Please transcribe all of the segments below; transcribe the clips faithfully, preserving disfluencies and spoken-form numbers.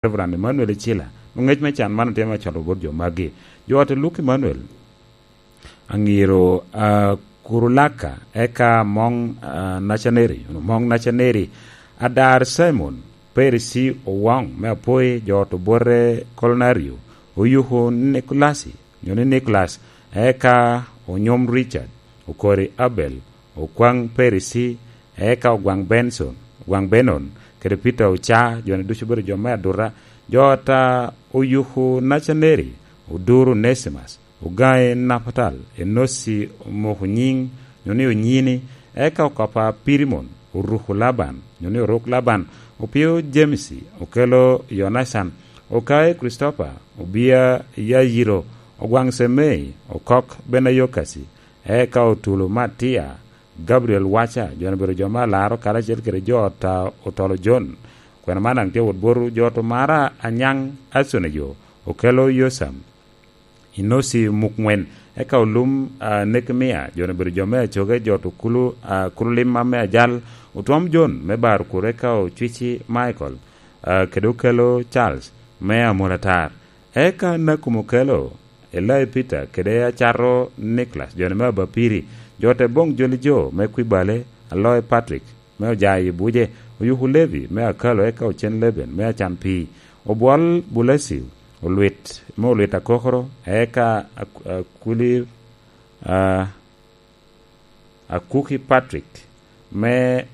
Reverend Emmanuel Icila. Ngec me can man otye me cwalo bot jo magi. Jo ot Luke Emmanuel, Aŋiro, ah, Kurulaka, eka Moŋ, ah, Nacaneri, Moŋ Nacaneri, Adar Simon, Perisi Owoŋ me Apoi, jo ot Obote Kolonario, Oyuku Nikolasi, nyo ni Nikolas, eka Onyom Richard, Okori Abel, Okwaŋ Perisi, eka Ogwaŋ Benson, Ogwaŋ Benon, kede Peter Oca, jo-ni ducu obedo jo me aduta, jo ot a Oyuku Nacaneri, Oduro Onesimus, Ogaŋe Napatal, Enosi Omoko Nyiŋ, nyo ni Onyini, eka Okopa Pirimon, Oruku Laban, nyo ni Oruk Laban, Opio Jemisi, Okelo Yonacan, Okae Kricitopa, Obia Yayiro, Ogwaŋ Cemei, Okok Benayokasi, eka Otulo Matia, Gabriel Waca, jo-ni obedo jo me alaro karacel kede jo ot a Otolo Jon. Kwena man daŋ tye wot botwu, jo ot Omara Anyaŋ Aconejo, Okelo Yosam, Inosi Mukŋwen, eka Olum, ah, Nekemia, jo-ni obedo jo me acoge, jo ot Okulu, ah, Kulu Limma me Ajal, Otwom Jon me Bar Okuro, eka Ocwici Michael, ah, kede Okelo Charles me Amolatar. Eka Nakum Okelo, Elai Peter, kede Acato Nicholas, jo-ni me Abapiri, jo ot Eboŋ Joli Jo me Kwibale, Aloy Patrick, me Ojayi Buje, Oyuku Levi, me Akalo, eka Ocen Leben, me Acan Pii, Obwol Bulesio, Olwit, me Olwit Akokoro, eka Ak-, Akuli, ah, Akuki Patrick, me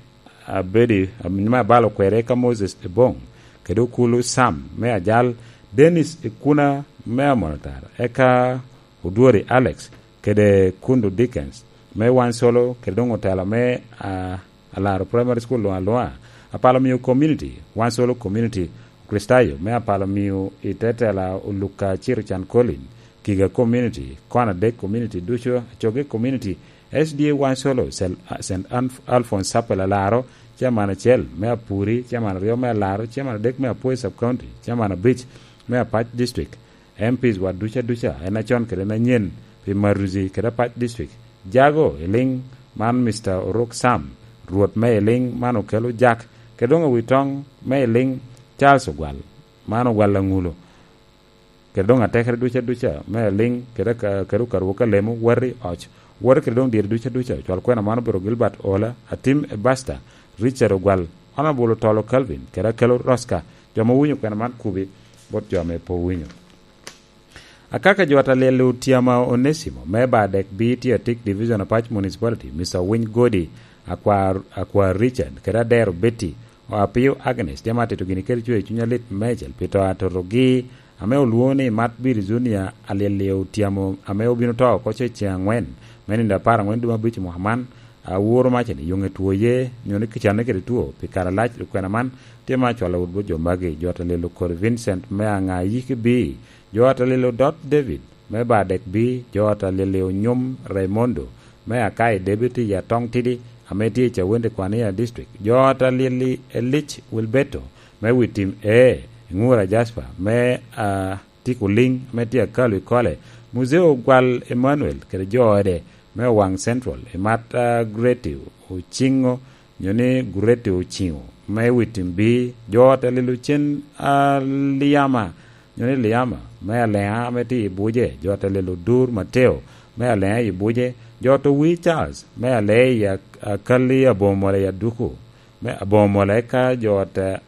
Abedi, me Abalo Kwere, eka Moses Ebong, kede Okulu Sam, me Ajal, Dennis Ekuna, me Amonotar, eka Odwori Alex, kede Kundu Dickens, me Wansolo, kede doŋ otela me, ah, Alaro Primary School luŋ aluŋa, Apalo Mio Community, Wansolo Community, Kricitayo, me Apalo Mio i te tela Oluka Ciro Can Colin, Kiga Community, Kona Dek Community ducu, Acoge Community, S D A Wansolo, Sel-, Saint Alf-, Alphonse Chapel Alaro, Chairman acel me Apuri, Chairman aryo me Alaro, Chairman adek me Apoi Sub County, Chairman abic me Apac District, M Ps wa duca duca, en acon kede en anyen, pi Maruzi kede Apac District. Jago i liŋ man Mister Oruk Sam, Rwot me i liŋ man Okelo Jak, kede doŋ awi toŋ me i liŋ Charles Ogwal, man Ogwal Aŋulo, kede doŋ atekere duca duca me aliŋ, kede ka, kede okaru ka lemo, wati oc, wati kede doŋ dyere duca duca, cwal kwena man obedo Gilbert Ola, Atim Ebasta, Richard Ogwal, Honorable Otolo Calvin, kede Akelo Rosca, jo ma owinyo kwena man kubi bot jo ame pe owinyo. Akaka jo ot Alyel Otyama Onesimo, me Badek B, tye Atik Division Apac Municipality, Mister Owiny Godi, Akwa, Akwa Richard, kede Adero Betty, Apio Agnes, tye ma atito gini kede cwer i cuny alit meicel pi to a totogi, ame olwoŋo ni Matbir Junior Alyel Otyamo, ame obino to oko ce ceŋ aŋwen, me nino apar aŋwen dwe abic mwaka man, aworo macani, yoŋe two ye, nyo ni kicanne kede two, pi kare alac, okwena man, tye ma acwalo wot bot jo magi, jo ot Alyel Okori Vincent me Aŋa Yiki B, jo ot Alyel Odot David, me Badek B, jo ot Alyel Onyom Raimondo, me Akai David i Atong Tidi, ame tye i Cawende Kwania District, jo ot Alyel Elic Wilberto, me Witim E, Ŋura Jasper, me, ah, Tiko Liŋ, ame tye Akalu i Kole, Muzeo Ogwal Emmanuel, kede jo ode, me Owaŋ Central, i Mat, ah, Greti Ociŋo, nyo ni Gurete Ociŋo, me Witim B, jo ot Alyel Ocen Alyama, nyo ni Lyama, me Aleŋa ame tye i Buje, jo ot Alyel Odur Mateo, me Aleŋa i Buje, jo ot Owii Charles, me Aleŋa i Ak-, Akali Abomola i Aduku, me Abomola eka jo ot, eh,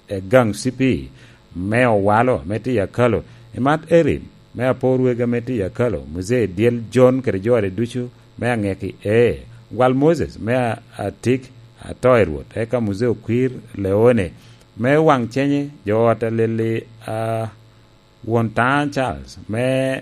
Egaŋ C P, me Owalo, ame tye i Akalo, i Mat Erin, me Apor Wega, ame tye i Akalo, Muzee Dyel Jon kede jo ode ducu, me Aŋeki E, Gwal Moses, me A-, Atik, Ato i Rwot, eka Muzee Okwir Leone, me Waŋ Cenye, jo ot Alyel, ah, Won Taŋ Charles, me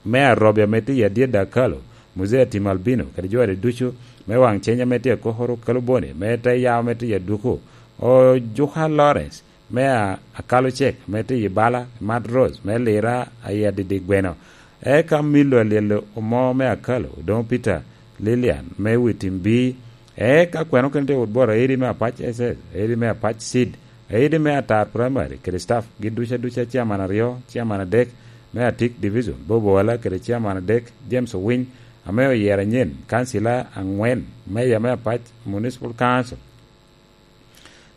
me Arobi ame tye i Adyet Dakalo, Muzee Atim Albino, kede jo ade ducu, me Waŋ Ceny ame tye Akokoro Kaluboni, me Te Yao ame tye i Aduku, Ojuka Lawrence, me a-, Akalo Cek, ame tye i Bala, Mat Rose, me Lira, ayi Adidi Gweno, eka Milo Alyel Omo me Akalo, Odoŋo Peter, Lilian, me Witim B, eka kweno kene tye wot bot Aidi me Apac S S, Aidi me Apac Seed, Aidi me Atar Primary, kede staff gi duca duca, chairman aryo, chairman adek, me Atik Division, Bob Owala kede chairman adek, James Owiny, ame oyero anyen, kancila aŋwen, meya me Apac Municipal Council.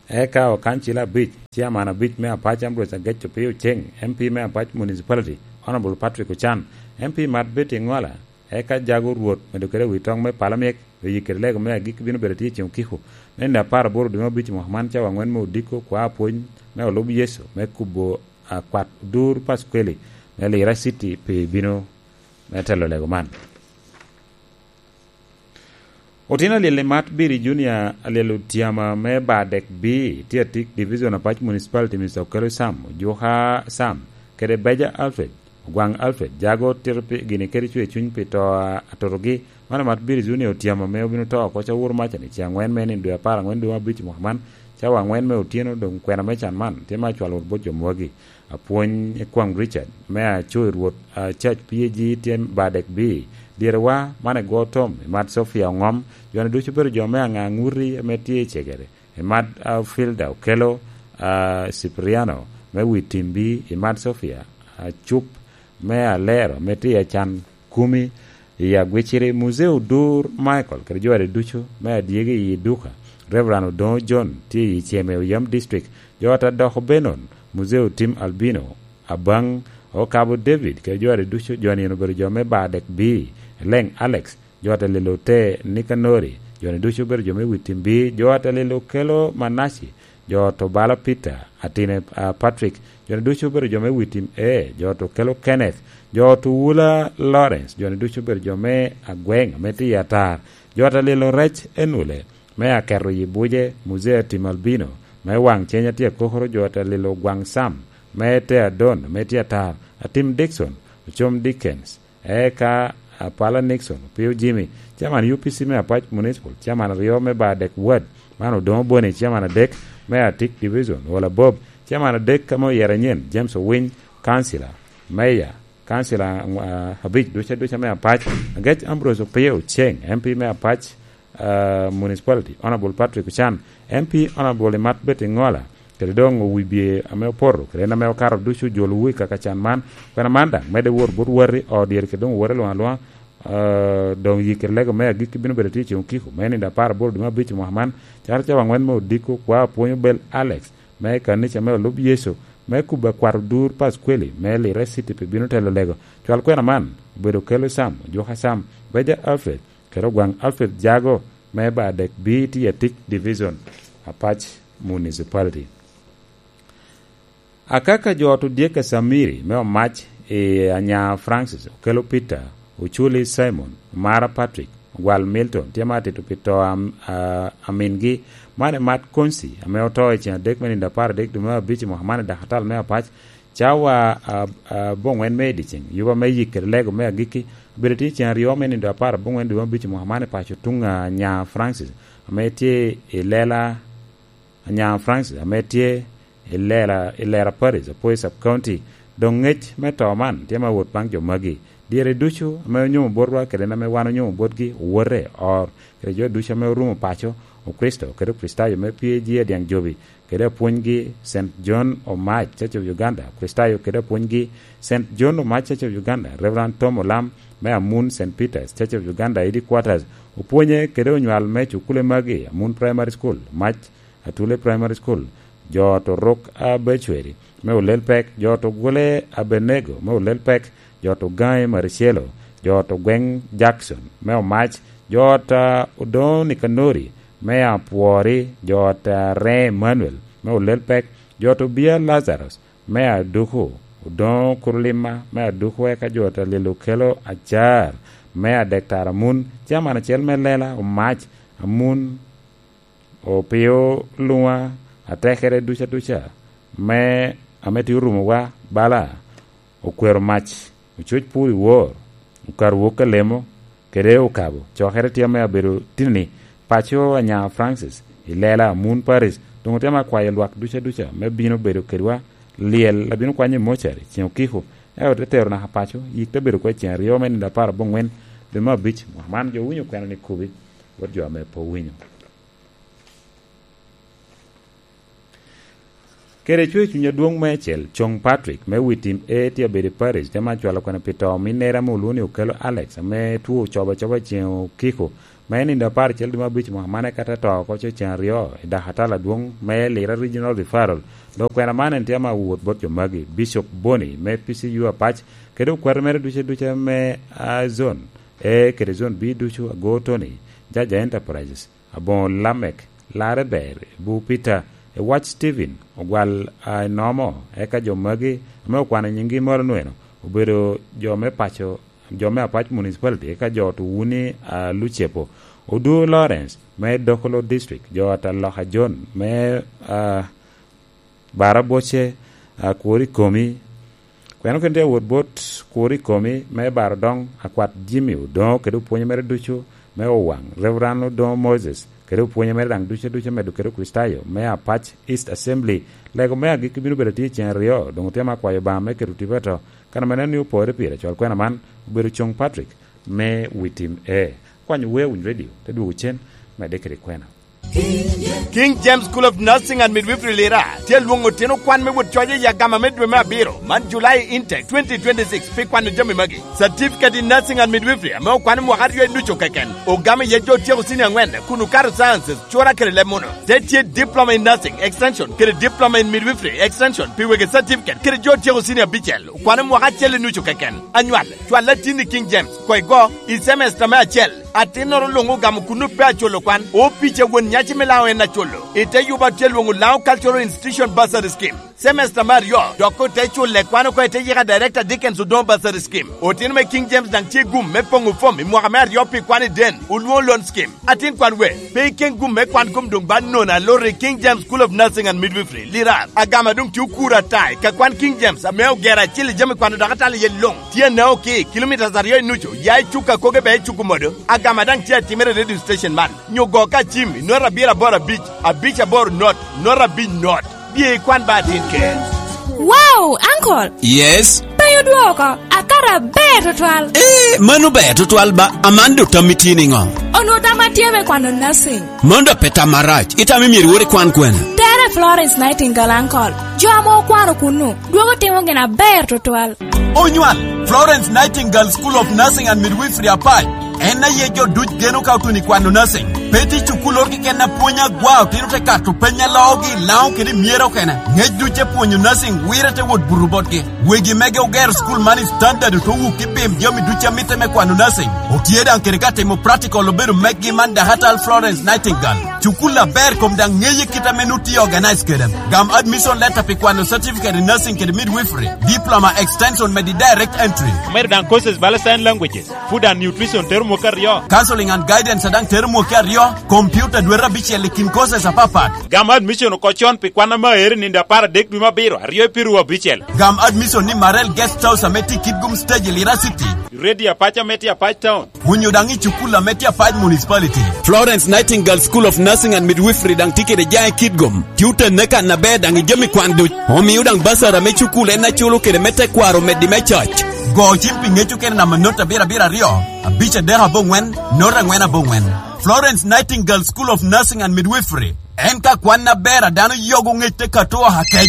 Eka okancila abic, ciaman abic me Apac Ambrose Agec Opio Ceng, M P me Apac Municipality, Honorable Patrick Ochan, M P Mat Betty Ngola, eka jago Rwot medo kede wi toŋ me Palamyek, oyikkere lego me agikki bino bedo tye i ceng okiko me nino apar aboro dwe me abic mwaka man, cawa angwen me odiko, kwa apwony me olub Yecu me kubo akwat odur Paskweli me Lira City pi bino me telo lego man. Otino alyel i Mat Biri Junior alyel otyama me Badek B, tye atik Division Apac Municipality, Mister Okelo Sam, Ojuka Sam, kede Beja Alfred, Ogwaŋ Alfred, jago tito pi gini kede cwer cuny pi to a atotogi. Man Mat Biri Junior otyama me obino to oko ca woro maca ni ce angwen me nino dwe apar angwen dwe me abic mwaka man, cawa angwen me otyeno. Doŋ kwena me can man tye me acwalo wot bot jo mwagi. Apwony Ekwaŋ Richard, me aco i Rwot, a, Church P A G tye Badek B. Dyerewa, man egwo Tom, i Mat Sofia Oŋom, jo-ni ducu obedo jo me aŋa aŋuti ame tye i cegere, i Mat, a, Filda Okelo, a, Cipriano, me wi timbi, i Mat Sofia, a, Cup, me Alero, ame tye i Acan Kumi, i Agwiciri, Muzee Odur Michael, kede jo ade ducu, me adyegi i Duka, Reverend Odoŋo John, tye i Ceme, Oyam District, jo ata doko Benon, Muzee Otim Albino, Abaŋ, Okabo David, kede jo ade ducu, jo-ni obedo jo me Badek B, Leŋ Alex, jo ata lelo te Nikanori, jo-ni ducu obedo jo me wi timbi, jo ata lelo kelo Manaci, jo to balo Peter, atine, a, Patrick, jo-ni ducu obedo jo me wi tim A, jo to kelo Kenneth, jo to wula Lawrence, jo-ni ducu obedo jo me agweŋ ame tye i atar, jo ata lelo rec Enule, me aketo yi buce, Muzee Atim Albino, me waŋ cenya tye akokoro, jo ata lelo gwaŋ Sam, me te Adon, me tye atar, Atim Dickson, Ocom Dickens, eka Apala Nixon, Opio Jimmy, chairman U P C me Apac Municipal, chairman aryo me Badek Ward, man Odoŋo Boni, chairman adek me Atik Division, Ola Bob, chairman adek ame oyero anyen, James Owiny, councillor, mayor, councillor, ah, abic duca duca me Apac, Agec Ambrose Opio Oceng, M P me Apac, ah, Municipality, Honorable Patrick Ochan, M P Honorable Imat Betty Ngola, kede doŋ owibye ame opoto, kede en ame okato ducu ojolowu i kaka can man. Kwena man daŋ medde wot bot wati, o dyere kede doŋ owoti luŋ aluŋa, ah, doŋ yikkere lego me agikki bino bedo tye i ceng okiko, me nino apar aboro dwe me abic i mwaka man, caro cawa angwen me odiko, kwa apwony Obel Alex, me kanica me olub Yecu, me kubo akwat odur Paskweli, me Lira City pi bino telo lego. Cwal kwena man obedo Kelo Sam, Ojuka Sam, Beja Alfred, kede Ogwaŋ Alfred Jago, me Badek B, tye Atik Division, Apac Municipality. Akaka jo ot odyek a Samiri me Omac i Anya Francis, Okelo Peter, Oculi Simon, Omara Patrick, Ogwal Milton, tye ma atito pi to am-, a, amingi. Man Emat Konsi, ame oto i ceng adek me nino apar adek dwe me abic i mwaka man i dakatal me Apac, cawa a, a, aboŋwen me i dyeceng, yuba me yik kede lego me agikki, obedo tye i ceng aryo me nino apar aboŋwen dwe me abic i mwaka man i paco tuŋ a Anya Francis, ame tye i lela Anya Francis, ame tye i Lera, i Lera Parish, Apoi Sub County, doŋ ŋec me to man tye ma wot baŋ jo magi. Dyere ducu ame onyomo botwa kede en ame wan onyomo botgi, owote, or, kede jo ducu ame orumo paco, Okricito kede Okricitayo me P A G Adiaŋ Jobi, kede apwonygi Saint John Omac, Church of Uganda, Okricitayo kede apwonygi Saint John Omac, Church of Uganda, Reverend Tom Olam, me Amun Saint Peter's, Church of Uganda, Headquarters, opwonye kede onywal me cukule magi, Amun Primary School, Mac Atule Primary School, jo to Ruk Abecweri, me Olel Pek, jo to Gule Abenego, me Olel Pek, jo to Gaŋe Maricelo, jo to Gweŋ Jackson, me Omac, jo to Odoŋo Nikanori, me Apwori, jo to Reŋ Emmanuel, me Olel Pek, jo to Bia Lazarus, me Aduku, Odoŋo Kurulima, me Aduku, eka jo to Lilo Kelo Acar, me Adek Tara Mun, caman acel me Lela Omac, Amun, Opio Luŋa, atekere duca duca, me, ame tye orumowa, bala, Okwero Mac, Ococ Pur i Wor, Okar Wok Alemo, kede Okabo, cokere tye ame abedo tini, paco Anya Francis, i Lela, Amun Paris, doŋ otemo akwayo lwak duca duca, me bino bedo kedwa, lyel, abino kwanyo i mocari, ceng okiko, eka ote tero naka paco, yik te bedo kwo i ceng aryo me nino apar aboŋwen, dwe me abic, mwaka man jo owinyo kwena ni kobi, bot jo ame pe owinyo. Kede cwer cuny adwoŋ meicel, Coŋ Patrick, me wi tim A tye abedo i Paris, te man cwalo kwena pi to ominnere ame olwoŋo ni Okelo Alex, ame two ocobo acoba i ceng okiko, Me nino apar acel dwe me abic mwaka man eka te to oko ceŋ aryo i dakatala adwoŋ me Lira Regional Referral. Dok kwena man en tye ame awot bot jo magi, Bishop Boni me P C U Apac, kede okwate mere duce duce me, ah, Zone A kede Zone B ducu, Ago Tony, Jaja Enterprises, Aboŋo Lamek, Larre Ber, Buu Peter, Ewac Stephen, Ogwal, ah, Enomo, eka jo magi ame okwano nyinggi malo nweno obedo jo me paco, jo me Apac Municipality, eka jo to Wuni, ah, Lucepo, Odu Lawrence me Dokolo District, jo Ataloka John me, ah, Bara Boce, ah, Kwori Komi, kweno kene tye awot bot Kwori Komi me Bara Odoŋ, Akwat Jimmy Odoŋo kede opwonye mere ducu me Owaŋ, Reverend Odoŋo Moses kede opwonye mere daŋ ducu ducu medo kede Kricitayo me Apac East Assembly. Lego me agikki bino bedo atye i ceŋ aryo, doŋ otye me akwayo Obaŋa me keto tipo ato. Kan ame neno ni opore pire, cwal kwena man obedo Coŋ Patrick me Witim A. Kwanyo Weo Winy Radio, te dwogo cen, medde kede kwena. King James School of Nursing and Midwifery Lira tye lwoŋo otino kwan me wot coc i agama me dwe me abiro man, July intake twenty twenty-six, pi kwano jami magi: Certificate in Nursing and Midwifery ame okwan i mwaka aryo i nucu keken, ogamo iye jo otyeko senior angwen kun okato sciences, cura kede leb muno. Te tye Diploma in Nursing Extension kede Diploma in Midwifery Extension pi wegi certificate kede jo otyeko senior abicel, okwano mwaka acel i nucu keken. Anywal, cwal atin i King James, koi go, i semester me acel. Atinnoro luŋ ogamo kuno pe aculo kwan. Opic a won nyaci me Laŋo en aculo. I te yuba tye lwoŋo Laŋo Cultural Institution Bursary Scheme. Semester me aryo, dok ote culle kwan oko i te yika Director Dickens Odoŋo Bursary Scheme. Otino me King James daŋ tye gum me poŋo fom i mwaka me aryo pi kwan i den, olwoŋo loan scheme. Atin kwan we, pe iken gum me kwan kom doŋ ba nono alot i King James School of Nursing and Midwifery, Lira. Agama doŋ tye okuro ata i ka kwan King James ame ogero acil i jami kwano dok atalo iye luŋ. Tye anao ki kilomitas aryo i nucu, ya i cuk a koge bea i cuk omodo. Agama daŋ tye atimere i radio station man. Nyo go ka cim i not abiro aboro abic, abic aboro not, not abic not. Bye ikwan ba atin ker. Wow, uncle! Yes? Pe odwoko, akato aber tutwal. Eh, mano ber tutwal ba, aman do tammi tye niŋo? Onwo tamma tye me kwano nursing. Mano da pe tam marac, itamo myero iwor ikwan kwene? Tere Florence Nightingale, uncle. Jo ame okwano kunnu, dwogo timo gin aber tutwal. Onywal, Florence Nightingale School of Nursing and Midwifery Apac. En aye jo duc geno ka otuno i kwano nursing. Pe tye cukul oro keken apwony agwa, otino te kato peny a loogi i Laŋo kede i myero okene. Ŋec duc te pwonyo nursing wire te wot buto botgi. Wegi mege ogero cukul man i standard oto wuk i pim jami duc a mitte me kwano nursing. Otye daŋ kede ka timo practical obedo meggi man Dakatal Florence Nightingale. Cukul aber kom daŋ ŋeye kit ame nut tye organize kede. Gam admission letter pi kwano certificate in nursing kede midwifery, diploma extension me di direct entry. Omedo daŋ courses bala sign languages, food and nutrition tero mwaka aryo. Counseling and guidance a daŋ tero mwaka aryo, computer dwete abicel i kin courses apapat. Gam admission oko con pi kwan ame aero i nino apar adek dwe me abiro, aryo i piru abicel. Gam admission ni Marel Guest House ame tye i Kitgum Stage i Lira City. Radio Apac ame tye Apac Town. Onyo daŋ i cukul ame tye Apac Municipality. Florence Nightingale School of Nursing and Midwifery daŋ tye kede jaŋ i Kitgum. Tye otenne kan aber daŋ i jami kwan duc. Omio daŋ basara me cukul en aculo kede me tekwaro meddi me coc. Go cim pi ŋec okene namba not abiro abiro aryo, abic adek aboŋwen, not angwen aboŋwen. Florence Nightingale School of Nursing and Midwifery. En ka kwan aber a dano yogo ŋec te kato oha kec.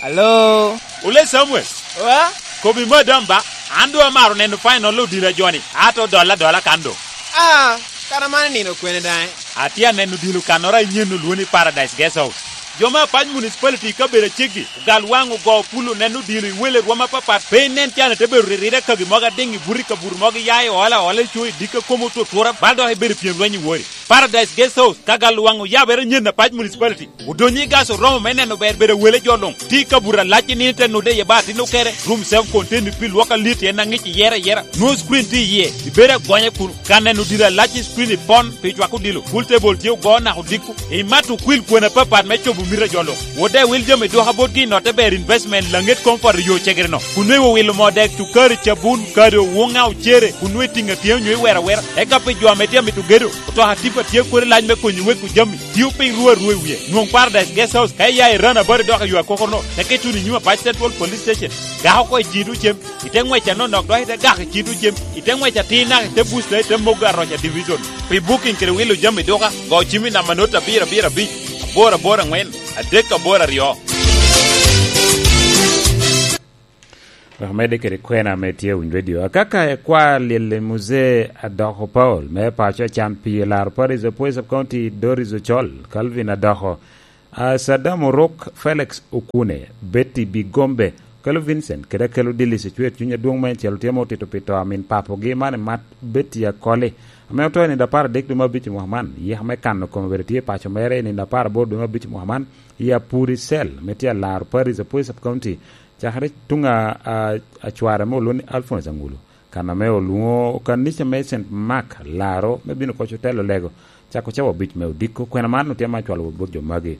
Alo? Ole Samuel. Wa? Kobi madam ba, an doŋ amaro neno final odilo a joni, ato dolla adola kan doŋ. Ah, kara man nino kwene daŋ? Atye aneno odilo kannoro anyen olwoŋo ni Paradise Guest House. Jo me Apac Municipality i kabedo aceggi, ogal waŋ ogo pul oneno odilo i wele rwom apapat, pe inen can ite bedo riride kagi mogo adiŋ i buto i kabuto mogo iya i ola ola i co i dikka komo otutura, bal dok ibedo i pyem lweny i wori. Paradise Guest House, ka gal waŋ oyabere nyen Apac Municipality. Odonyo i gas oromo me neno ber bedo wele jo luŋ. Tye i kabuto alac i nino te nude iye ba atin okere, room self contained pi lwok alit en aŋic iyere ayera. Nwoŋo screen tye iye, ibedo agonya kun ka neno diro alac i screen ipon pi cwako odilo. Pool table tye ogo naka odiko. Imato okwil kwena apapat me cobo mito a jo luŋ. Wode wil jami dwoka botgi i notte ber investment laŋet comfort i yo cegere-no. Kun nwoŋo iwilo moo dek, cukari, cabun, kado, wuŋa, ocere, kun nwoŋo itiŋo atyeo nyo iwero awera. Eka pi jo ame tye amito gedo, otoka tipa tye kodi lac me konyo weko jami. Tio piny ruu arua i wie. Nwoŋ Paradise Guest House ka iya i Rana Bari dok i yo akoko-no, teke ituno i nyim Apac Central Police Station. Gak oko i ciŋ tucem, ite ŋwec anonok dok ite gak i ciŋ tucem, ite ŋwec atir naka ite busta ite mogo aroca division. Pi booking kede wilo jami duka, go cim i namba not abiro abiro abic, aboro aboro aŋwen, adek aboro aryo. Wek omedde kede kwena ame tye i Winy Radio. Akaka ekwa lyel i Muzee Adoko Paul, me paco acan pi laro Paris Apoy Sub County, Doris Ocol, Calvin Adoko, a, Saddam Oruk, Felix Okune, Betty Bigombe, Kelo Vincent, kede Akelo Dillis, ecwer cuny adwoŋ meicel otye ma otito pi to a min papogi man, emat Betty Akoli, ame oto i nino apar adek dwe me abic i mwaka man. Yeka me kano kome bene tye i paco mere i nino apar aboro dwe me abic i mwaka man, i Apuri Cell, ame tye alaro Paris Apoy Sub County, cakere tuŋ a, a, a cware ame olwoŋo ni Alphonse Angulu, kan ame olwoŋo kanica me Saint Mark Laro me bino koc otelo lego, cako cawa abic me odiko. Kwena man otye ma acwalo wot bot jo magi.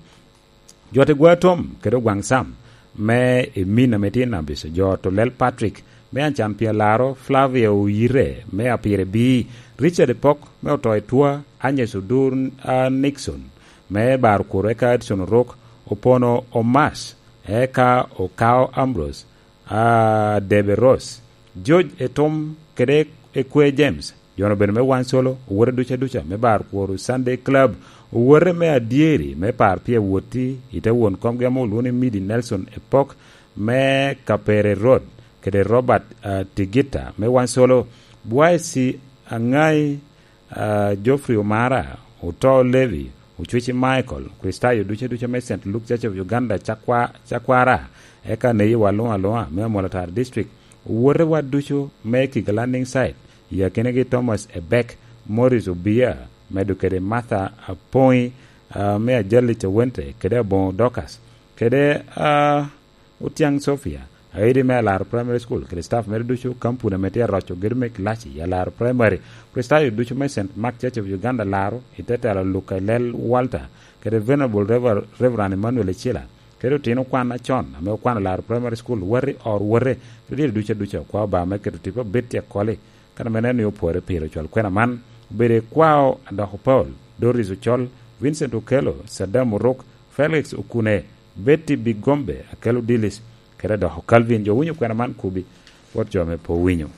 Jo te gwa tom kede ogwaŋ Sam me Emin ame tye Nabis, jo to lel Patrick me Ancan pi Alaro, Flavia Oyire me Apire Bii, Richard Epok me oto i Twa, Agnes Odur, a, Nixon me Bar Kuro, eka Edson Oruk, Opono Omas, eka Okao Ambrose, a, Debe Rose, George Etom kede Ekwe James, jo-nu obedo me Wan Solo, owote duca duca me Bar Kuro Sunday Club, owote me Adyeri me Par Pye Woti, ite won komgi ame olwoŋo ni Midi Nelson Epok me Kapere Road, kede Robert, a, Tigita me Wan Solo, Bwaisi Aŋai, a, Geoffrey Omara, Oto Levi, Ocweci Michael, Kristayo duca duca me Saint Luke Church of Uganda, Cakwa-, Cakwara, eka Neyi Waluŋa Luŋa me Amolo Tara District, owote wa ducu me Kiga Landing Site, i akinagi Thomas Ebek, Morris Obia, medo kede Martha Apoŋi, a, me Ajali Cawente, kede Aboŋo Dorcas, kede, a, Otiaŋ Sofia, aidi me Alaro Primary School, kede staff mere ducu, kampuni ame tye aroco gedo me kilaci i Alaro Primary, Kristayo ducu me Saint Mark Church of Uganda Laro, i te telo Luka Lel Walter, kede Venerable Rever-, Reverend Emmanuel Ecila, kede otino kwan acon ame okwano Laro Primary School, wati or wote, kede dito ducu aduca, okwao Obaŋa me keto tipo abit i akoli, kan ame neno ni opwore pire ocwal kwena man, obedo i kwao Adoko Paul, Doris Ocol, Vincent Okello, Saddam Oruk, Felix Okune, Betty Bigombe, Akelo Dillis, kede Adoko Calvin. Jo winyo kwena man kubi, wot jo me po winyo.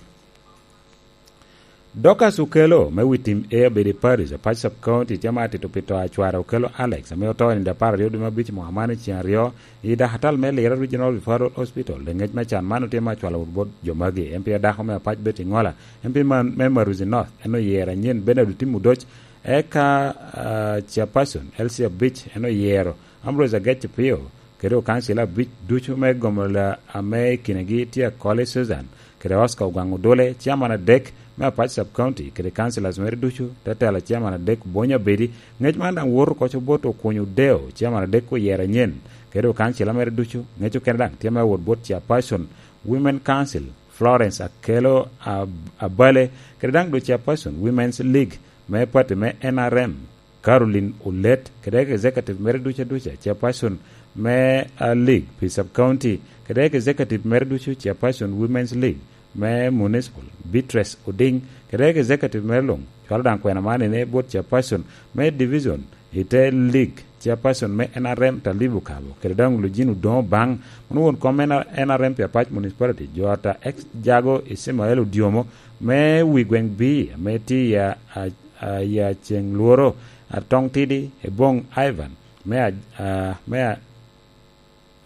Dorcas Okello me Witim A obedo i Paris, Apac Sub County, tye ma atito pi to a cware Okello Alex, ame oto i nino apar aryo dwe me abic mwaka man i ceng aryo, i dakatal me Lira Regional Referral Hospital. Leŋec me can man otye ma acwalo wot bot jo magi. M P adako me Apac Betty Ngola, M P man, me Maruzi North, en oyero anyen Bernard Otim Odoc, eka, ah, Chairperson Elsie Abich, en oyero Ambrose Agec Opio, kede okancila abic ducu me gomola ame i kinegi tye Akole Susan, kede Oscar Ogwaŋ Odole, chairman adek me Apac Sub County, kede councillors mere ducu, te telo chairman adek Bonyo Abedi. Ŋec man daŋ woto oko bot Okuny Odeo, chairman adek oyero anyen, kede okancila mere ducu. Ŋec okene daŋ tye me wot bot chairperson Women Council, Florence Akello Ab-, Abale, kede daŋ doŋ chairperson Women's League me party me N R M, Caroline Olet, kede executive mere ducu aduca, chairperson me, ah, league pi sub county, kede executive mere ducu, chairperson Women's League me municipal, Beatrice Oding, kede executive mere luŋ, cwalo daŋ kwena man ene bot chairperson me division i te league, chairperson me N R M Talibu Kabo, kede daŋ Lujin Odoŋo Baŋ, mano won kom me N R M pi Apac Municipality, jo ata ex Jago Ismael Odiomo, me wi gweŋ B, ame tye i a, a, a, i a ceŋ lworo, Atong Tidi, Ebong Ivan, me a, a, me a,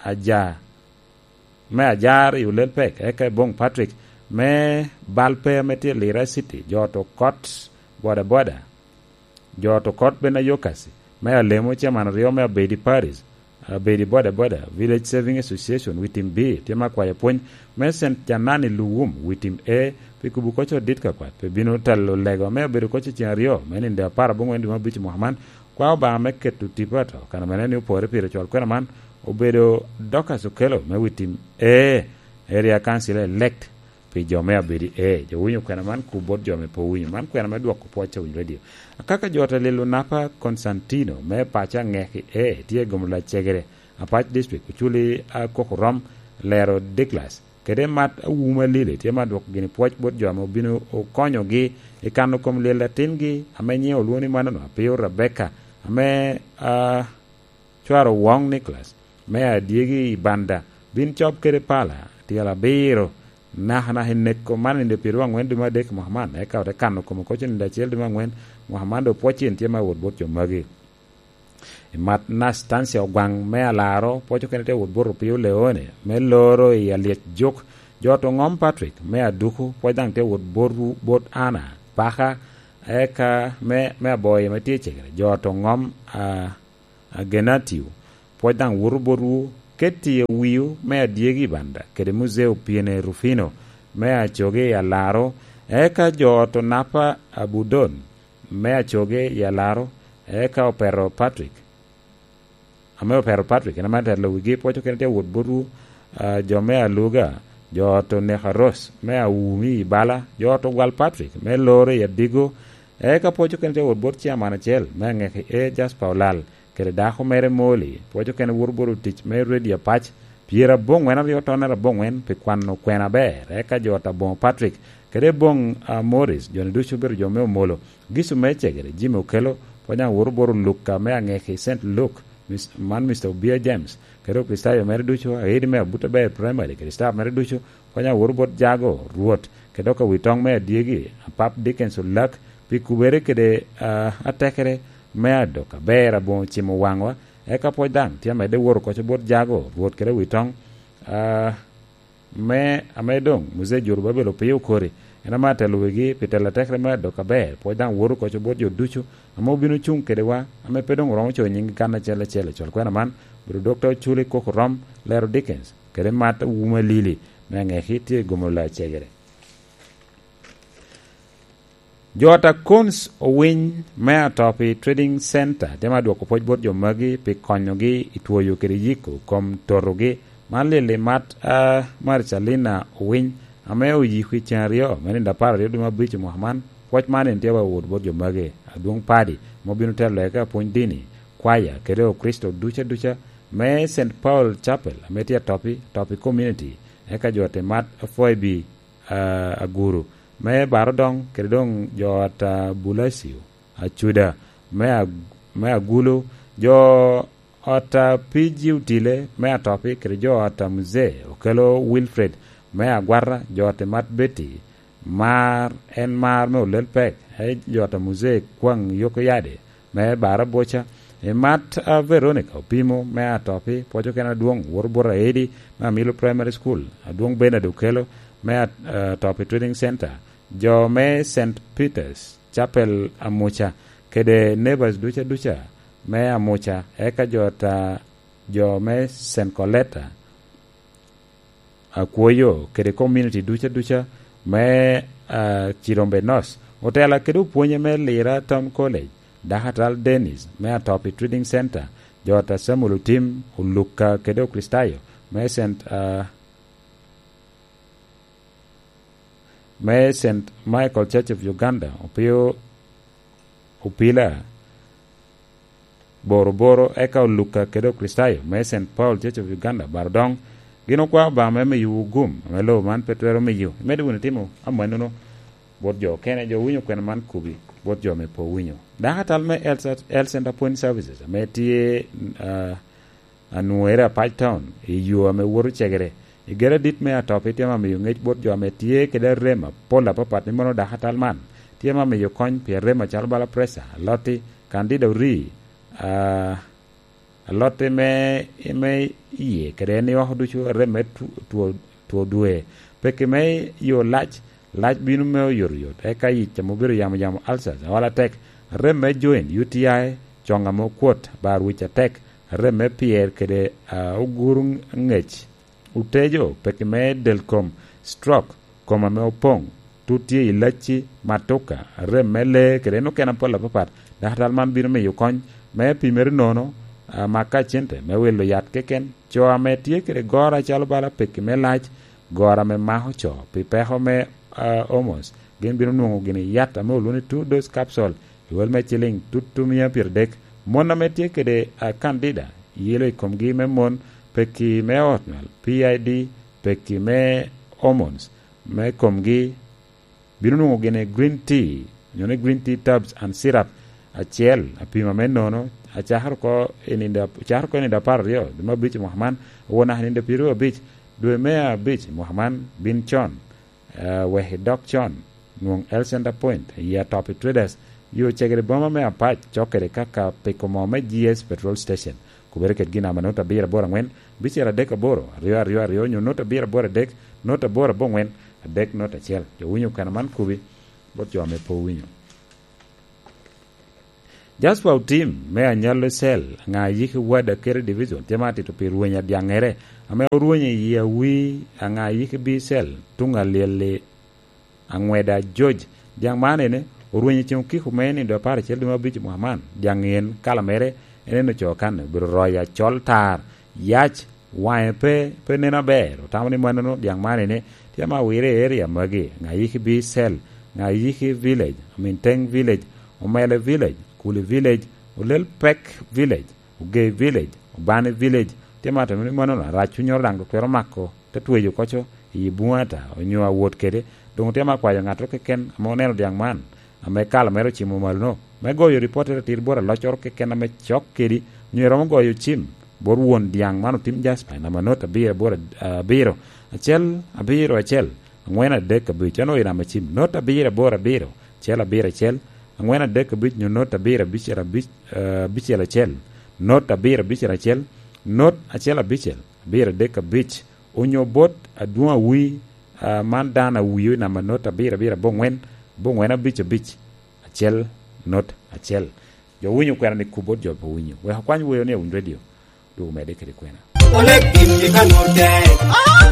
aja, me ajar i Olel Pek, eka Ebong Patrick, me Balpe ame tye i Lira City, jo to kot boda boda, jo to kot ben ayokasi, me Alemo, chairman aryo me Abedi Paris, Abedi boda boda, Village Saving Association, Witim B, tye me akwayo pwony, me Saint Janani Luwum, Witim A, pi kubo koc odit ka kwat, pe bino telo lego ame obedo koc i ceng aryo, me nindo apar aboŋwen dwe me abic mwaka man, kwa Obaŋa me keto tipo ato, kan ame neno ni opore pire cwal kwena man, obedo Dorcas Okello me Witim A, Area Council elect, pi jo me Abedi A. Jo winyo kwena man ku bot jo me pe owinyo. Man kwena me dwoko pwoc a Winy Radio. Akaka jo te lilo napa Constantino me paco Aŋeki A tye i gomo lacegere, Apac District, oculi akoko rom, lero Douglas, kede mat awuma Lili tye ma dwoko gini pwoc bot jo ame obino okonyogi i kano kom lyel atingi ame nyiŋe olwoŋo ni manono, Apio Rebecca, ame, ah, cware Owoŋ Nicholas, me adyegi i Banda, bin cob kede pala, tyel abiro, nakanaka i neko man i nino pyeraryo aŋwen dwe me adek mwaka man, eka ote kano kome koc i nino acel dwe me aŋwen mwaka man, dok pwoc in tye me wot bot jo magi. I mat Nastancia Ogwaŋ me Alaro, pwoc okene tye wot bot Opio Leone, me loro i Alyec Juk, Jo to ŋom Patrick me Aduku pwod daŋ tye wot bot, bot Ana Paka, eka me, me Aboyo ame tye i Cegere. Jo to ŋom, a, a Genatio pwod daŋ woto botwu. Ketti i wiu me Adyegi Banda kede Muzeo Piene Rufino me Acoge i Alaro, eka jo to Napa Abudon me Acoge i Alaro, eka Opero Patrick, ame Opero Patrick, en ame atelo wigi, pwoco kene tye wot botwu, a, jo me Aluga, jo to Nekaros me Awumi i Bala, jo to Gwal Patrick me Loro i Adigo, eka pwoco kene tye wot bot ciaman acel me Aŋeki, e, Jasper Olal, kede dako mere Moli, pwoco kene woto bot otic me Redio Apac, pyeraboŋwen aryo tonnere aboŋwen pi kwano kwena aber, eka jo to Aboŋo Patrick, kede Aboŋ, a, Morris, jo-ni ducu obedo jo me Omolo, Gicu me Cegere, Jimmy Okello, pwod daŋ woto bot Luka me Aŋeki, Saint Luke, Mis-, man Mister Obia James, kede Okricitayo mere ducu, aidi me Abuta Ber Primary, kede staff mere ducu, pwod daŋ woto bot Jago, Rwot, kede dok Awitoŋ me Adyegi, Apap Dickens Olak, pi kubere kede, a, atekere me adok aber aboŋo cimo waŋwa, eka pwod daŋ tye amedde woto koco bot Jago, Rwot kede Awitoŋ, a, me, ame doŋ Muzee Jorubabel opio okori, en ame atelo wigi pi telo atekere me adok aber, pwod daŋ woto koco bot jo ducu ame obino cuŋ kedewa, ame pe doŋ oromo coyo nyinggi kan acel acel. Acwal kwena man obedo Dokta Oculi Koko Rom, Lero Dickens, kede Mat Wuma Lili, me Aŋeki tye i Gomolo Acegere. Jo ata Cons owiny me Atopi Trading Center tye ma dwoko pwoc bot jo magi pi konyogi i twoyo kede yiko kom totogi. Man lili Mat, a, Marcelina Owiny, ame oyiko i cen aryo me nino apar aryo dwe me abic i mwaka man. Pwoc man en tye wa wot bot jo magi, adwoŋ padi, ame obino telo eka pwony dini, kwaya, kede Okricito duca duca me Saint Paul Chapel, ame tye Atopi, Atopi Community, eka jo ata Mat Foibi, a, Aguru, me Barodoŋ, kede doŋ jo ot a Bulasio Acuda, me Ag-, me Agulu, jo ot a P G Otile, me Atopi, kede jo ot a Muzee Okello Wilfred, me Agwata, jo ot a Mat Betty, mar, en mar me Olel Pek, e jo ot a Muzee Kwaŋ Yoko Yade, me Baraboca, i Mat a Veronica Opimo, me Atopi, pwoco kene adwoŋ, woto bot Aedi, me Amilo Primary School, adwoŋ Bernard Okello, me At-, Atopi Trading Center, jo me Saint Peter's Chapel Amuca, kede neighbors duca duca me Amuca, eka jo ta, jo me Saint Coletta, Akwoyo, kede community duca duca me, a, Kirombe North. Otela kede opwonye me Lira Town College, Dakatal Dennis me Atopi Trading Center, jo ata Samuel Otim, Oluka kede Okricitayo me Saint, a, me Saint Michael Church of Uganda, Opio, Opila, Boroboro, eka Oluka kede Okricitayo me Saint Paul Church of Uganda, Barodoŋ, gin okwao Obaŋa me miyowu gum ame lobo man pe twero miyo. Imedo wunu timo amannono bot jo okene, jo winyo kwena man kubi bot jo ame pe owinyo. Dakatal me Health, Health Center Point Services ame tye, a, Anwoŋere Apac Town, i yo ame woto Cegere. I gere adit me Atopi tye ma miyo ŋec bot jo ame tye kede arem apol apapat, ni mono dakatal man tye ma miyo kony pi arem acalo bala preca, alotti, kandida orii, a, alotti me, me iye, kede en i oko ducu, arem me tu-, two, two dwe. Peki me yo lac, lac bino me oyotoyot, eka yic ame obedo yamo yamo, ulcers, aol atek, arem me joint, U T I, coŋ ame okwot, bar wic atek, arem me pyer kede, a, oguru ŋec, otejo, peki me del kom, stroke, kom ame opoŋ, tut tye i lacci, matuka, arem me lee, kede en okene apol apapat. Dakatal man bino miyo kony me pimere nono, a, maka cente me wilo yat keken. Co ame tye kede goro acalo bala peki me lac, goro ame mako co pi peko me, a, hormones, gin bino nwoŋo gini yat ame olwoŋo ni two dose capsule, i wel me ciliŋ tutu mia pyeradek. Mon ame tye kede, a, candida, yelo i komgi me mon, peki me ot nywal, P I D, peki me hormones me komgi, bino nwoŋo gini green tea, onyo ni green tea tabs and syrup acel, apima me nono, acakere oko i nino, acakere oko i nino apar aryo, dwe me abic i mwaka man, owor naka i nino pyeraryo abic, dwe me abic i mwaka man, bin con, eh, wek idok con, nwoŋ Health Center Point, i Atopi Traders, yo cegere boma me Apac, cok kede kaka piko moo me G S Petrol Station. Kubere kedgi namba not abiro aboro angwen, bicel adek aboro, aryo aryo aryo, nyo not abiro aboro adek, not aboro abongwen, adek not acel. Jo winyo okana man kubi bot jo ame pe owinyo. Jasper Otim me Anyallo Cell, aŋa yiki wada kede division, tye ma atito pi rweny adyaŋere, ame orwenyo i awi aŋa yiki B cell, tuŋ alyel-li, aŋweda George. Dyaŋ man ene, orwenyo i ceŋ okiko me nindo apar acel dwe me abic i mwaka man. Dyaŋ en, kala mere, en en ocoo kan, obedo royo acol tar, yac, waŋe pe, pe neno aber. Otamo ni mannono, dyaŋ man ene, tye ma awire i area magi, aŋa yiki B cell, aŋa yiki village, Aminteng village, Omele village, Kuli village, Olel Pek village, Ogei village, Obani village, tye ma atamo ni mannono, arac cunnyoro daŋ twero mako, te tweyo koco i buŋe ata, onyo awot kede, doŋ otye ma akwayo ŋattoro keken ame oneno dyaŋ man, ame kala mere ocimo malo-no, me goyo ripottere atir bot aloccoro keken ame cok kedi, onyo eromo goyo cim bot won dyaŋ man Otim Jasper, i namba not abiro aboro abiro, acel abiro acel, angwen adek abic, en oyo i namba cim, not abiro aboro abiro, acel abiro acel, angwen adek abic, nyo not abiro abicel abic, eh, abicel acel, not abiro abicel acel, not acel abicel, abiro adek abic, onyo bot adwoŋ awi, ah, man dano awio i namba not abiro abiro abongwen, abongwen abic abic, acel, not acel. Jo winyo kwena ni kub bot jo pe winyo. Wek akwany weyo ni awiny radio, dwogo medde kede kwena. Oleg gin i kanute,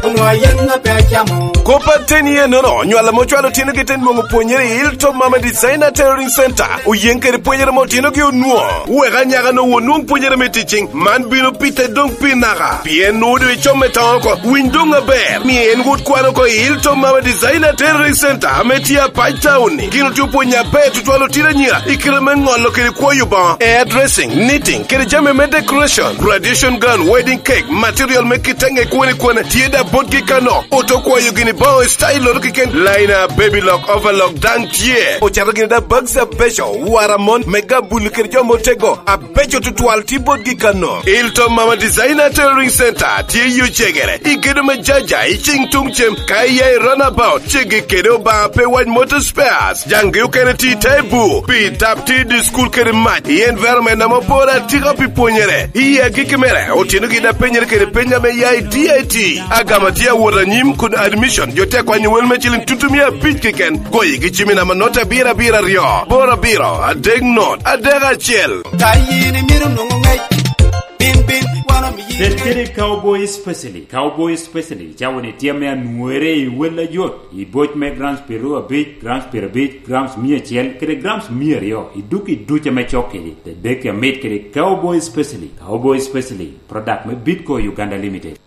onwoŋo ayen ŋa pe acamo. Kop aten iye nono, nywal ame ocwalo otino gi te nwoŋo pwonyere i Hilltop Mama Designer Tailoring Center, oyen kede pwonyere ame otino gi onwoŋo. Wek anyaka no won nwoŋ pwonyere me teaching, man bino pite doŋ pi naka. Pien nwoŋo doŋ icom me toŋo oko, winy doŋ aber. Mie en wot kwano oko i Hilltop Mama Designer Tailoring Center, ame tye Apac Town ni. Gin otye opwonyo aber tutwal otino anyira, i kite me ŋolo kede kwoyo boŋo, hairdressing, knitting, kede jami me decoration, graduation gown, wedding cake, material me kitenge kwane kwane, tye da botgi kano. Oto kwayo gini boŋo i style loro keken, liner, baby lock, overlock, daŋ tye. Ocato gini da bags abeco, wara mon, me gabul kede jo motego, abeco tutwal tye botgi kano. Hilltop Mama Designer Tailoring Center tye i Ocegere, i gedo me Jaja, i cing tuŋ cem, ka iya i runabout, ceggi kede Obaŋa pe wac Motor Spares. Jaŋgi okene tye i te bu, pi tap tye i dye school kede mac, i environment ame oporo atika pi pwonyere. I agikki mere, otino gin a penyere kede peny ame ya i D I T. Agama tye awot anyim kun admission, jo tye akwanyo wel me ciling tutumia abic keken. Goyi gi cim i namba not abiro abiro aryo, boro abiro, adek not, adek acel. Ka yin imito nwoŋo ŋec, bin, bin, wan omiyi. Tet kede Cowboy Specialist. Cowboy Specialist, cawa ni tye ame anwere i wel ayot, i boc me grams piero abic, grams piero abic, grams mia acel, kede grams mia aryo, i duk i duc ame cok kedi, te dek amit kede Cowboy Specialist. Cowboy Specialist, product me Bitco Uganda Limited.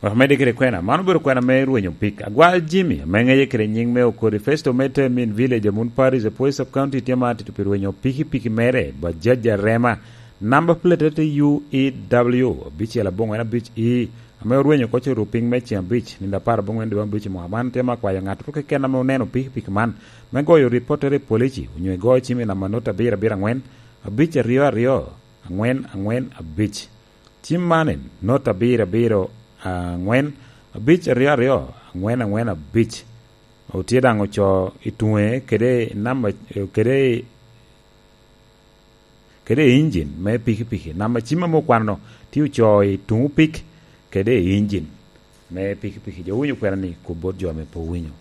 Wek medde kede kwena, man obedo kwena me rwenyo pik. Agwal Jimmy, ame ŋeye kede nyiŋ me Okori Festo me Temin Village, Amun Parish, Apuoyo Sub County, tye ma atito pi rwenyo pikipiki mere, Bajaj Arema, namba plate te U E W abicel abongwen abic E, ame orwenyo oko coro piny me ceng abic, nino apar abongwen dwe me abic i mwaka man, tye ma akwayo ŋattoro keken ame oneno pikipiki man, me goyo ripottere i polici, onyo igo cim i namba not abiro abiro angwen, abic aryo aryo, angwen angwen abic. Cim man en, not abiro abiro angwen, abic aryo aryo, angwen angwen abic. Otye daŋ ocoo i tuŋe kede namba, kede, kede i injin me pikipiki. Namba cim ame okwano-nu tye ocoo i tuŋ pik kede i injin me pikipiki. Jo winyo kwena ni kub bot jo ame pe owinyo.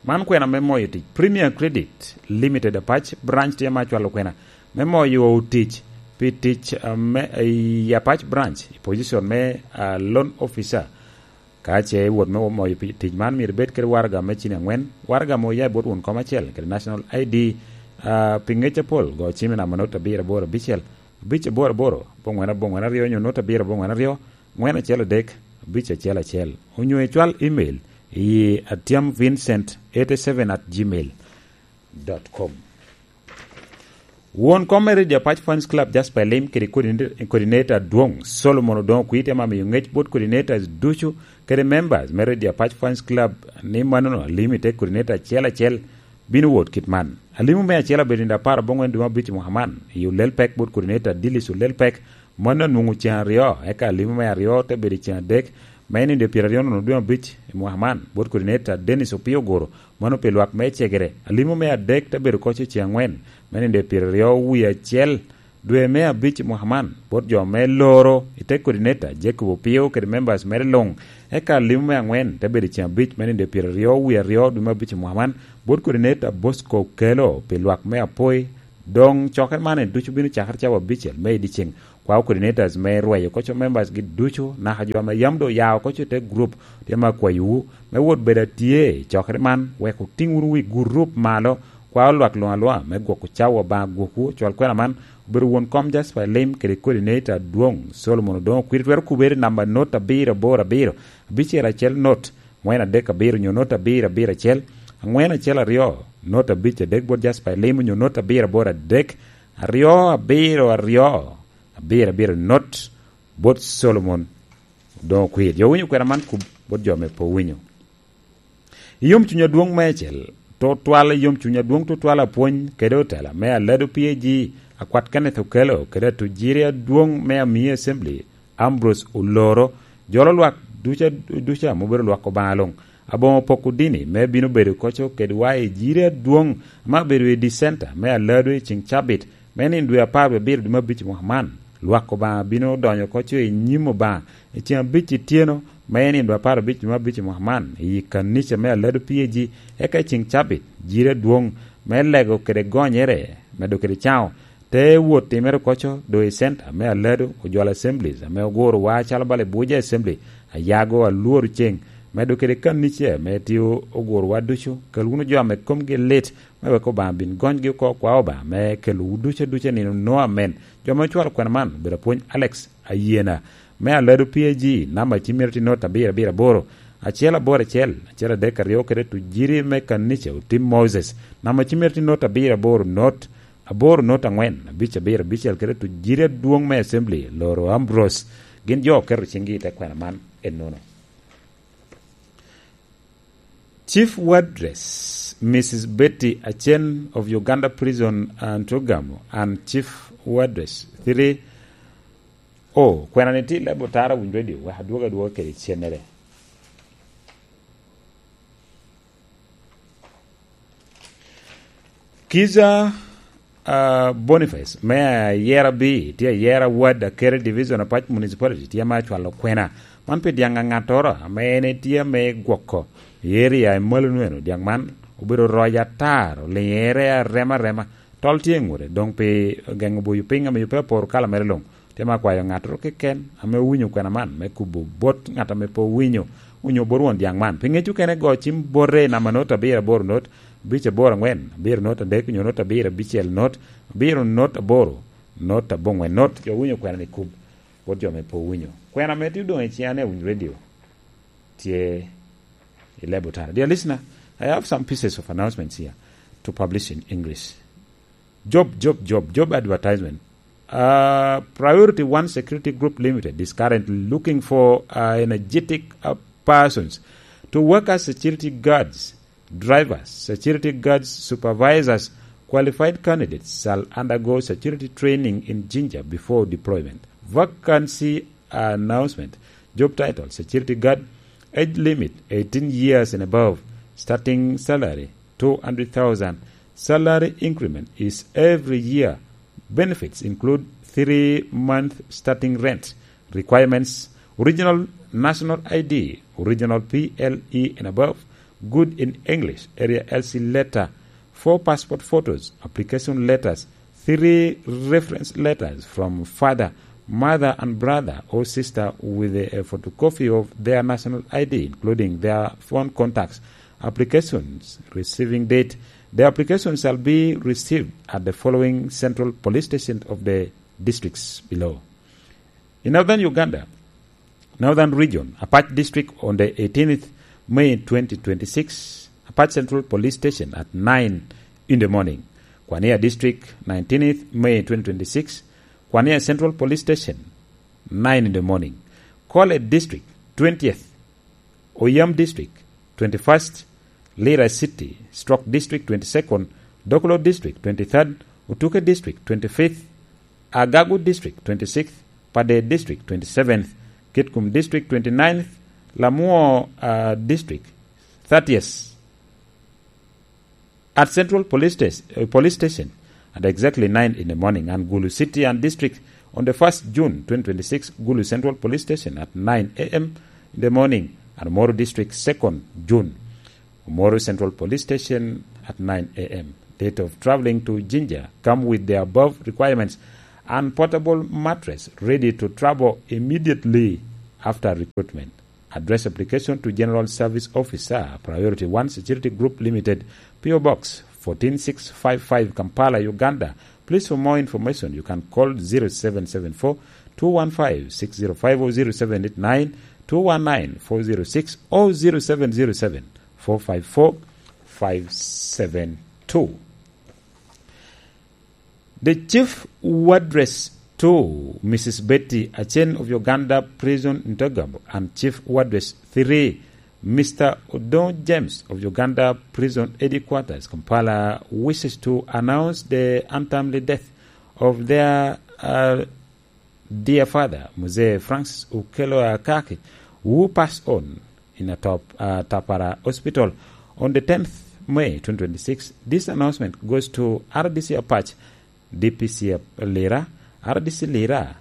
Man kwena me moyo tic. Premier Credit Limited Apac Branch tye ma cwalo kwena me moyo tic pi tic, ah, me, i Apac Branch i position me, ah, loan officer. Ka ce iwot me moyo pi-, tic man, myero ibed kede waraga me cini angwen, waraga mo oya i bot won kom acel kede National I D, ah, pi ngec apol, go cim i namba not abiro aboro abicel, abic aboro aboro, abongwen abongwen aryo, nyo not abiro abongwen aryo, angwen acel adek, abic acel acel. Onyo icwal email i Atiam Vincent eighty seven at gmail dot com. Won kom me Radio Apac Fans Club, Jasper Elim, kede coordinator, coordinator adwoŋ, Solomon Odongo Kwite, ma miyo ŋec bot coordinators ducu kede members me Radio Apac Fans Club ni manono, Elim ite coordinator acel acel, bino wot kit man. Alimo me acel abedo nino apar abongwen dwe me abic i mwaka man, i Olel Pek bot coordinator Dilis Olel Pek, mano anwoŋo ceŋ aryo, eka alimo me aryo te bedo i ceŋ adek, me nino dwe pyeraryo nono dwe me abic i mwaka man, bot coordinator Dennis Opio Oguro, mano pi lwak me Cegere. Alimo me adek te bedo koc i ceŋ angwen, me nino dwe pyeraryo wie acel, dwe me abic i mwaka man, bot jo me loro i te coordinator Jacob Opio kede members mere luŋ. Eka limo me aŋwen te bedo i ceŋ abic me nino dwe pyeraryo wie aryo dwe me abic i mwaka man, bot coordinator Bosco Kelo pi lwak me Apoi. Doŋ cokere man en ducu bino cakere cawa abicel me i dyeceŋ. Kwao coordinators me rweyo koco members gi ducu, naka jo ame yam doŋ oya oko i te group, tye ame akwayowu me wot bedo atye i cokere man, wek otiŋ wunu wi gurup malo. Kwao lwak luŋ aluŋa me gwoko cawa Obaŋa gwokwu. Cwal kwena man obedo won kom Jasper Lim kede coordinator adwoŋ Solomon Odoŋo Kwiri. Twero kubere i namba not abiro aboro abiro, abicel acel not, aŋwen adek abiro, nyo not abiro abiro acel, aŋwen acel aryo, not abic adek bot Jasper Lim, nyo not abiro aboro adek, aryo abiro aryo, abiro abiro not bot Solomon Odoŋo Kwiri. Jo winyo kwena man kub bot jo me pe owinyo. I yomcuny adwoŋ meicel, tutwal i yomcuny adwoŋ tutwal apwony kede otela me Alado P A G, akwat Kenneth Okello kede atujiri adwoŋ me Amii Assembly, Ambrose Oloro, jolo lwak duca, duca ame obedo lwak Obaŋa luŋ. Aboŋo poko dini me bino bedo koco kedwa i jiri adwoŋ ame abedo i dicenta me Alado i ceŋ cabit me nino dwe apar wie abiro dwe me abic i mwaka man. Lwak Obaŋa bino donyo koco i nyim Obaŋa i ceŋ abic ityeno me nino dwe apar abic dwe me abic i mwaka man i kanica me Alado P A G, eka i ceŋ cabit jiri adwoŋ me lego kede gonyere, medo kede caŋo, te wot timere koco do i center me Alado, Ojwal Assemblies ame oguro wa calo bala Abuja Assembly, Ayago, Alworo Ceng, medo kede kanica ame tye oguro wa ducu. Kel wunu jo ame komgi lit, me wek Obaŋa bin gonygi oko kwa Obaŋa me kelowu ducu aduca nino no amen. Jo ame ocwalo kwena man obedo apwony Alex Ayena me Alado P A G, namba cim mere tye not abiro abiro aboro, acel aboro acel, acel adek aryo kede tujiri me kanica Otim Moses, namba cim mere tye not abiro aboro not, aboro not aŋwen, abic abiro abicel kede tujiri adwoŋ me Assembly, Loro Ambrose. Gin jo oketo ciŋgi i te kwena man ennono. Chief Wardress, Missus Betty Achen of Uganda Prison and Ntugamo, and Chief Wardress three. Oh, kwena ni ti lebo tara Winy Radio, wek adwoga adwoga kede cennere. Kiza, ah, Boniface, me ayera bi, tye ayera ward Akere Division, Apac Municipality, tye ame acwalo kwena. Man pi dyaŋ aŋattoro ame en etye ame gwoko i area i malo nweno. Dyaŋ man obedo roc atar, oliŋere arema arema. Tol tye i ŋute, doŋ pi geŋo boyo piny ame yubbe aporo kala mere luŋ. Tye ame akwayo ŋattoro keken ame owinyo kwena man me kubo bot ŋat ame pe owinyo, onyo bot won dyaŋ man. Pi ŋec okene, go cim bote i namba not abiro aboro not, abic aboro aŋwen, abiro not adek, onyo not abiro abicel not, abiro not aboro, not aboŋwen not. Jo winyo kwena ni kub bot jo ame pe owinyo. Kwena ame tye odoŋ i ciŋa ni Awiny Radio tye i lebo tara. Dear listener, I have some pieces of announcements here to publish in English. Job, job, job, job advertisement. Uh, Priority One Security Group Limited is currently looking for, uh, energetic, uh, persons to work as security guards, drivers, security guards, supervisors. Qualified candidates shall undergo security training in Jinja before deployment. Vacancy announcement. Job title: Security Guard. Age limit: eighteen years and above. Starting salary: two hundred thousand. Salary increment is every year. Benefits include three month starting rent. Requirements: original national I D, original P L E and above, good in English, area L C letter, four passport photos, application letters, three reference letters from father, mother, and brother or sister with a photocopy of their national I D, including their phone contacts. Applications receiving date. The applications shall be received at the following central police station of the districts below. In Northern Uganda, Northern Region, Apac District, on the eighteenth May twenty twenty-six, Apac Central Police Station at nine in the morning. Kwania District, nineteenth May twenty twenty-six, Kwania Central Police Station, nine in the morning. Kole District, twentieth, Oyam District, twenty-first, Lira City, Stroke District, twenty-second, Dokolo District, twenty-third, Utuke District, twenty-fifth, Agago District, twenty-sixth, Pader District, twenty-seventh, Kitgum District, twenty-ninth, Lamwo, uh, District, thirtieth. At Central Police Station, uh, Police Station, at exactly nine in the morning, and Gulu City and District on the first June twenty twenty-six, Gulu Central Police Station at nine a m in the morning, and Omoro District second June, Omoro Central Police Station at nine a m. Date of traveling to Jinja come with the above requirements and portable mattress ready to travel immediately after recruitment. Address application to General Service Officer, Priority One Security Group Limited, P O Box fourteen six five five, Kampala, Uganda. Please, for more information, you can call zero seven seven four two one five six zero five or zero seven eight nine two one nine four zero six or zero seven zero seven four five four five seven two. The Chief Wardress two, Missus Betty Achen of Uganda Prison Ntogabo, and Chief Wardress three, Mister Odong James of Uganda Prison Headquarters, Kampala, wishes to announce the untimely death of their, uh, dear father, Mzee Francis Okello Akaki, who passed on in a top, uh, Tapara Hospital on the tenth May twenty twenty-six. This announcement goes to R D C Apac, D P C Lira, R D C Lira,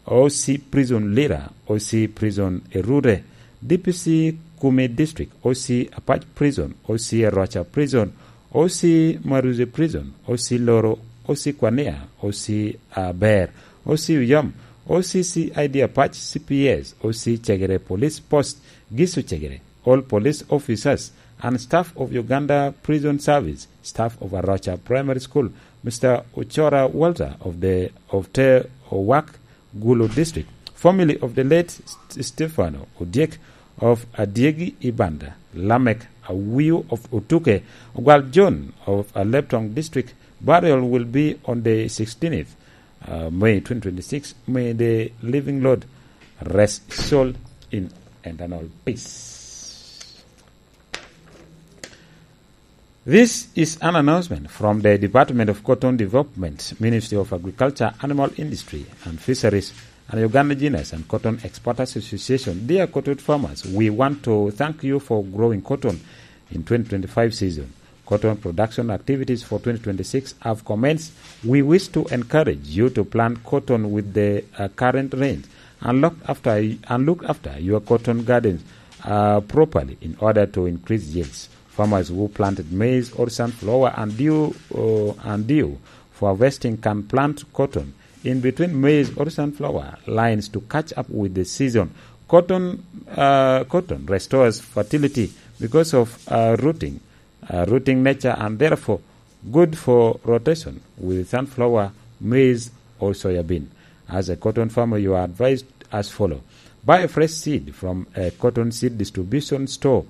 O C Prison Lira, O C Prison Erure, D P C Kumi District, O C Apac Prison, O C Aroca Prison, O C Maruzi Prison, O C Loro, O C Kwania, O C Aber, O C Uyom, O C C I D Apac, C P S, O C Cegere Police Post, Gisu Cegere, all police officers and staff of Uganda Prison Service, staff of Aroca Primary School, Mister Ochora Walter of the, of Te Owak, Gulu District, family of the late St-, Stefano Odyek of Adyegi Ibanda, Lamek Awiu of Otuke, Ogwal John of Aleptong District. Burial will be on the sixteenth, uh, May twenty twenty-six. May the living Lord rest soul in eternal peace. This is an announcement from the Department of Cotton Development, Ministry of Agriculture, Animal Industry and Fisheries, and Uganda Ginnas and Cotton Exporters Association. Dear cotton farmers, we want to thank you for growing cotton in twenty twenty-five season. Cotton production activities for twenty twenty-six have commenced. We wish to encourage you to plant cotton with the, uh, current rains and look after, and look after your cotton gardens, uh, properly in order to increase yields. Farmers who planted maize or sunflower and due, uh, and due for harvesting can plant cotton in between maize or sunflower lines to catch up with the season. Cotton, uh, cotton restores fertility because of, uh, rooting, uh, rooting nature, and therefore good for rotation with sunflower, maize, or soya bean. As a cotton farmer, you are advised as follow. Buy a fresh seed from a cotton seed distribution store,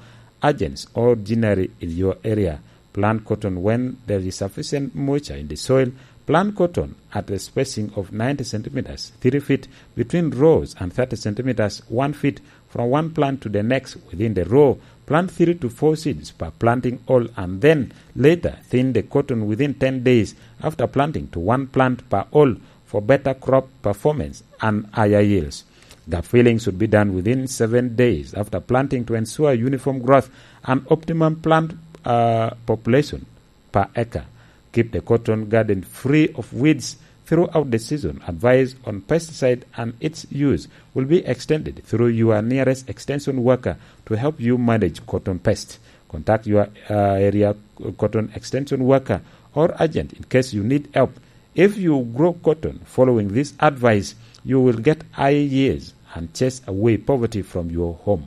agents, or ginnery in your area. Plant cotton when there is sufficient moisture in the soil. Plant cotton at a spacing of ninety centimeters, three feet between rows, and thirty centimeters, one feet from one plant to the next within the row. Plant three to four seeds per planting hole, and then later thin the cotton within ten days after planting to one plant per hole for better crop performance and higher yields. Gap filling should be done within seven days after planting to ensure uniform growth and optimum plant, uh, population per acre. Keep the cotton garden free of weeds throughout the season. Advice on pesticide and its use will be extended through your nearest extension worker to help you manage cotton pest. Contact your, uh, area cotton extension worker or agent in case you need help. If you grow cotton following this advice, you will get high yields and chase away poverty from your home.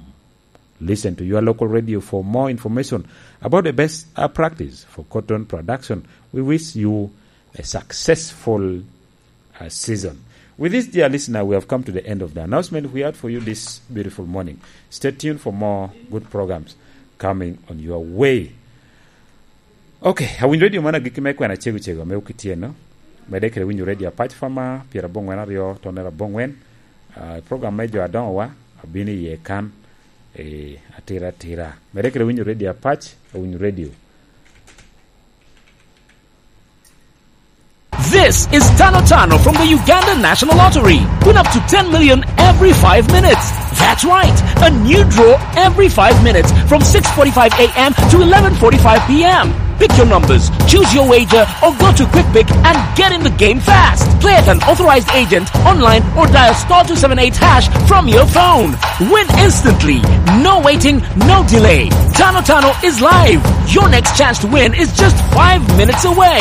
Listen to your local radio for more information about the best, uh, practice for cotton production. We wish you a successful, uh, season. With this, dear listener, we have come to the end of the announcement we had for you this beautiful morning. Stay tuned for more good programs coming on your way. Ok, awinyo redio man agikki me kwena cego cego me okityeno. Medde kede winyo redio Apac Fama, pyerabongwen aryo, tonere abongwen. Ah, program me jo adoŋowa, abino iye kan, eh, atira atira. Medde kede winyo redio Apac, awinyo redio. This is Tano Tano from the Uganda National Lottery. Win up to ten million every five minutes. That's right, a new draw every five minutes from six forty-five a m to eleven forty-five p m. Pick your numbers, choose your wager, or go to Quick Pick and get in the game fast. Play at an authorized agent, online, or dial star two seven eight hash from your phone. Win instantly. No waiting, no delay. Tano Tano is live. Your next chance to win is just five minutes away.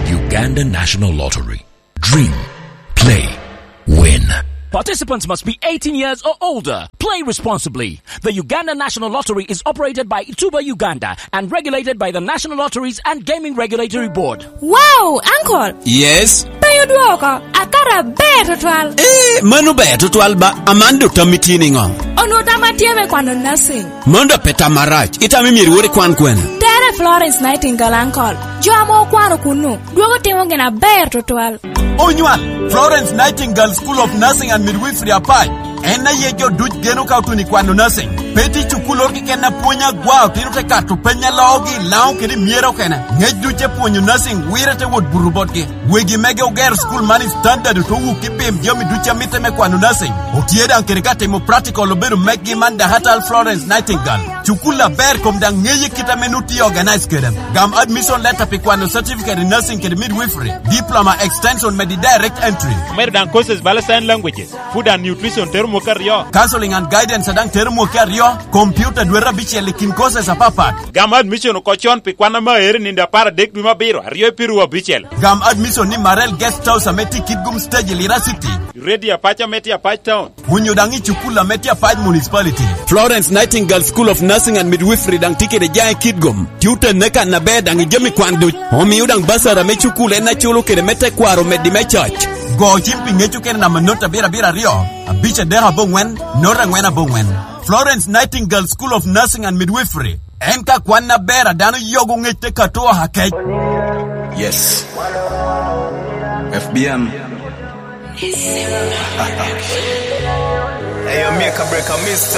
Uganda National Lottery. Dream. Play. Win. Participants must be eighteen years or older. Play responsibly. The Uganda National Lottery is operated by Tuba Uganda and regulated by the National Lotteries and Gaming Regulatory Board. Wow, uncle! Yes? Pe odwoko, akato aber tutwal. Eh, mano ber tutwal ba, aman dok tammi tye niŋo? Onwoŋo tamma tye me kwano nursing. Mano dok pe tam arac, itamo myero iwot ikwan kwene? Tere Florence Nightingale, uncle. Jo ame okwano kunnu, dwogo timo gin aber tutwal. Onywal, Florence Nightingale School of Nursing and Midwifery Apac. En aye jo duc geno ka otuno i kwano nursing. Pe tye cukulloro keken a pwony agwa, otino te kato peny a loogi i Laŋo kede i myero okene. Ŋec duc te pwonyo nursing wire te wot buto botgi. Wegi mege ogero school man i standard oto wuk i pim jami duc a mitte me kwano nursing. Otye daŋ kede ka timo practical obedo meggi man Dahatal Florence Nightingale. Cukul aber kom daŋ ŋeye kit ame nu tye organize kede. Gam admission letter pi kwano certificate in nursing kede midwifery, diploma extension medi direct entry. Omedo daŋ courses bala sign languages, food and nutrition tero mwaka aryo. Counseling and guidance daŋ tero mwaka aryo, computer dwete abicel i kin courses apapat. Gam admission oko con pi kwan ame aere nindo apar adek dwe me abiro, aryo i piru abicel. Gam admission ni Marel Guest House ame tye i Kitgum Stage i Lira City. Ready Apac ame tye Apac Town. Onyo daŋ i cukul ame tye Apac Municipality. Florence Nightingale School of Nursing and Midwifery daŋ tye kede jaŋ i Kitgum. Tye otenne kan aber daŋ i jami kwan duc. Omio daŋ basara me cukul en aculo kede me tekwaro meddi me coc. Go cim pi ŋec okene namba not abiro abiro aryo, abic adek aboŋwen, not angwen aboŋwen. Florence Nightingale School of Nursing and Midwifery. En ka kwan aber a dano yogo ŋec te kato oha kec. Yes. F B M. Hey, yo, Mika Breaker, Mister.